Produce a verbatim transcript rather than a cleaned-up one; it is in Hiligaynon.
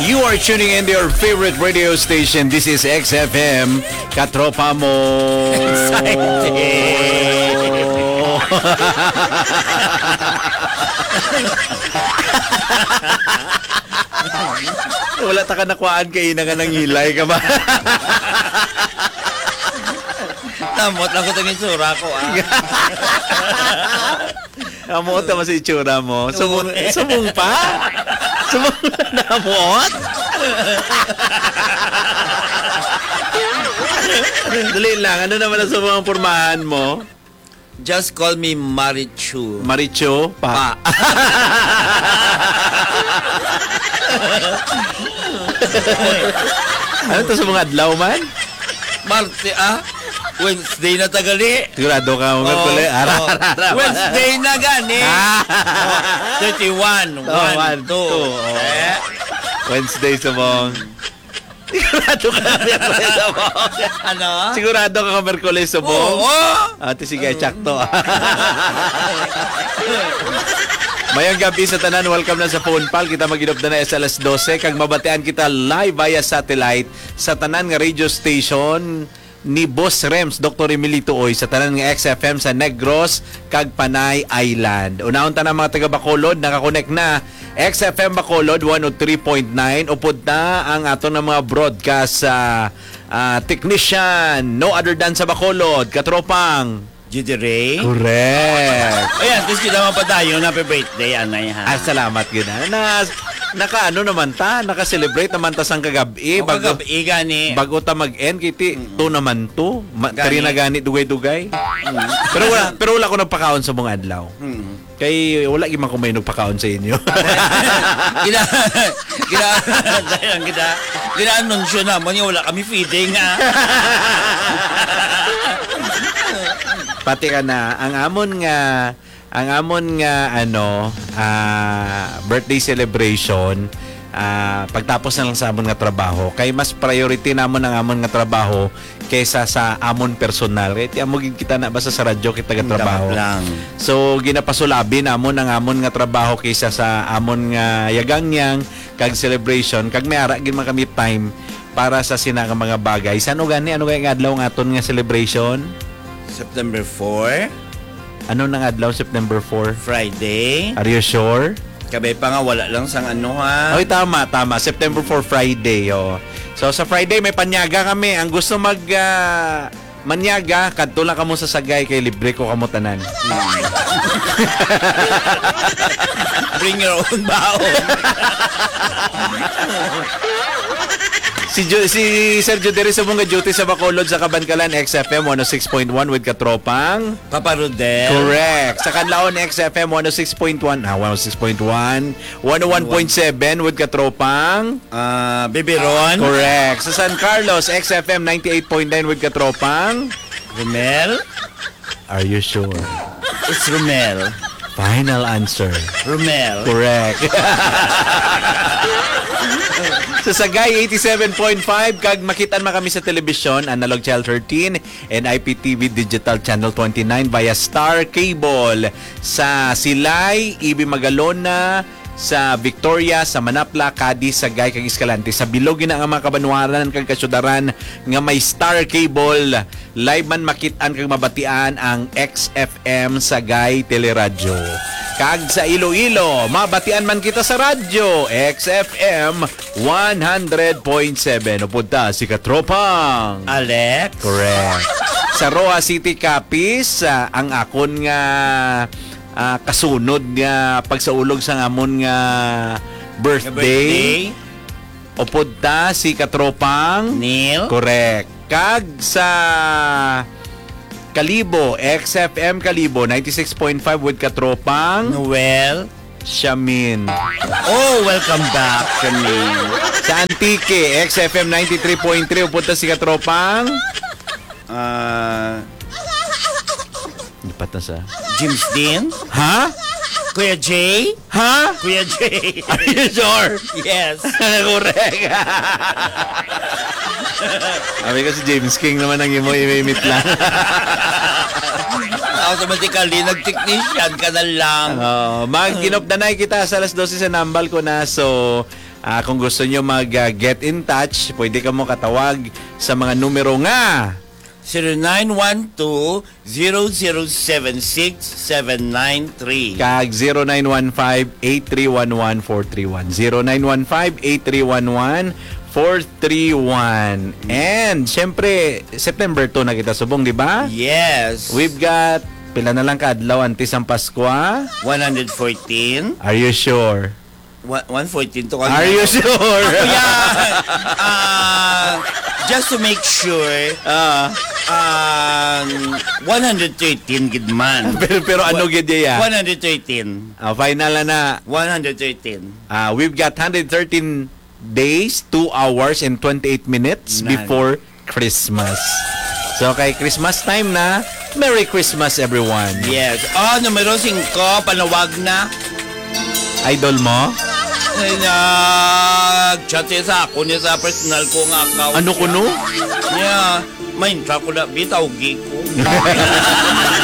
You are tuning in to your favorite radio station. This is X F M, Katropa Mo. Excited. Wala ta ka nakuhaan kay ina nga nangilay ka ba? Namot lang ko itong itsura ko, ah. Amo ta mas itsura mo. Subong, Oo. Subong pa? Subong na namot? Dali lang, ano naman ang subong ang pormahan mo? Just call me Marichu. Marichu? Pa. Pa. Ano to sa mga adlaw man? Marte, ah? Wednesday na tagali. Sigurado ka, mga Oo, pala. Ara, oo. Ara, ara. Wednesday na gani. Ah. Oh, thirty-one. Oh, one, one, two. Two, oh. Eh? Wednesday, subong. Sigurado ka, Miyerkules, subong. Ano? Sigurado ka, Miyerkules, subong. Oo. Ate, sige, Oo. Tsakto. Mayong gabi sa tanan. Welcome na sa Phone Pal. Kita mag-inop na na sa alas dose. Kag mabatian kita live via satellite sa tanan nga radio station ni Boss Rems, Doktor Emilito Oy, sa tanan nga X F M sa Negros kag Panay Island. Unahon ta na, mga taga Bacolod, nakakonek na X F M Bacolod one oh three point nine. Upod na ang aton nga mga broadcast, ah, ah, technician, no other than sa Bacolod, katropang Judy Ray. Correct. Ayan, tapos kita mapadayon, happy birthday, anay, ha? Ah, salamat gid, ha. Na, naka, ano naman ta, naka-celebrate naman ta sang kagab-i, O, bago, kagab-i gani. Bago ta mag-end, kiti, Mm-mm. Two naman to. Ma-, Gani. Three na gani, dugay-dugay. Mm. Pero wala, pero wala ko nagpakaon sa mga adlaw. Mm. Kay wala gyud man ko may nagpakaon sa inyo. Gina-, gina-, gina-, gina-anunsyo namon nga wala kami feeding, ha? Pati ka na, ang amon nga, ang amon nga, ano, ah, birthday celebration, ah, pagtapos na lang sa amon nga trabaho. Kay mas priority namon ang amon nga trabaho kaysa sa amon personal. Kay ti amo gid kita na basta sa radyo kita gatrabaho. Dapat lang. So, ginapasulabi namon ang amon nga trabaho kaysa sa amon nga yagangyang kag celebration. Kag may ara gid man kami time para sa sina nga mga bagay. San-o gani? Ano gani nga adlaw ang aton nga celebration? September four. Ano nang adlaw, September four? Friday. Are you sure? Kabay pa nga, wala lang sang ano, ha? Oy, tama, tama. September four, Friday, oh. So, sa Friday, may panyaga kami. Ang gusto mag, ah, manyaga, kadto lang kamo sa Sagay kay libre ko kamo tanan. Bring your own baon. Si Ju-, si Sir Judery sa mga duty sa Bacolod sa Kabankalan, X F M one oh six point one with Katropang. Papa Rodel. Correct. Sa Kanlaon, X F M one oh six point one. Ah, one oh six point one. One oh one point seven with Katropang. Ah, Bibiron. Correct. Sa San Carlos, X F M ninety-eight point nine with Katropang. Romel. Are you sure? It's Romel. Final answer. Romel. Correct. Sa Sagay eighty-seven point five, kag makitaan man kami sa telebisyon, Analog Channel thirteen, and I P T V Digital Channel twenty-nine via Star Cable. Sa Silay, Ibi Magalona, sa Victoria, sa Manapla, Cadiz, Sagay, kag Escalante. Sa bilog gina nga mga kabanwaran kag kasyudaran nga may Star Cable, live man makitaan kag mabatian ang X F M Sagay Teleradyo. Kag sa Iloilo, mabatian man kita sa radyo, X F M one hundred point seven. Upod ta si Katropang Alex. Correct. Sa Roxas City, Capiz, ah, ang akon nga, ah, kasunod nga pagsaulog sa amon nga birthday. Nga birthday. Upod ta si Katropang Neil. Correct. Kag sa Kalibo, X F M Kalibo, ninety-six point five with Katropang Noel. Shamin. Oh, welcome back, Shamin. Sa Antique, X F M ninety-three point three, upod ta si Katropang. Ah, Lipat na sa James Dean? Ha? Kuya Jay? Ha? Kuya Jay. Are you sure? Yes. Correct. Sabi ko, si James King naman ang imo imimit lang. Automatically, nag-technician ka na lang. Oh, mag-inop na na kita sa alas dose sa nambal ko na. So, Ah, kung gusto nyo mag, ah, get in touch, pwede ka mo katawag sa mga numero nga zero nine one two, zero zero seven six, seven nine three. Kag zero nine one five, eight three one one, four three one. Zero nine one five, eight three one one, four three one. And, syempre, September two na kita subong, di ba? Yes. We've got, pila na lang ka adlaw antes ang Paskwa? One hundred fourteen. Are you sure? One, one fourteen to. Are you sure? Ako yan. Ah, just to make sure, Ah, um, one hundred thirteen gid man. Pero, pero ano gid iya? One hundred thirteen. Ah, final na na. One hundred thirteen. Ah, we've got hundred thirteen days, two hours, and twenty-eight minutes Nan. before Christmas. So, kay Christmas time na, Merry Christmas, everyone. Yes. Oh, numero singko, panawag na. Idol mo? Ay, nag-chat siya sa ako niya sa personal ko nga account. Ano kuno? Yeah. May intra ko na, bitaw, gi ko.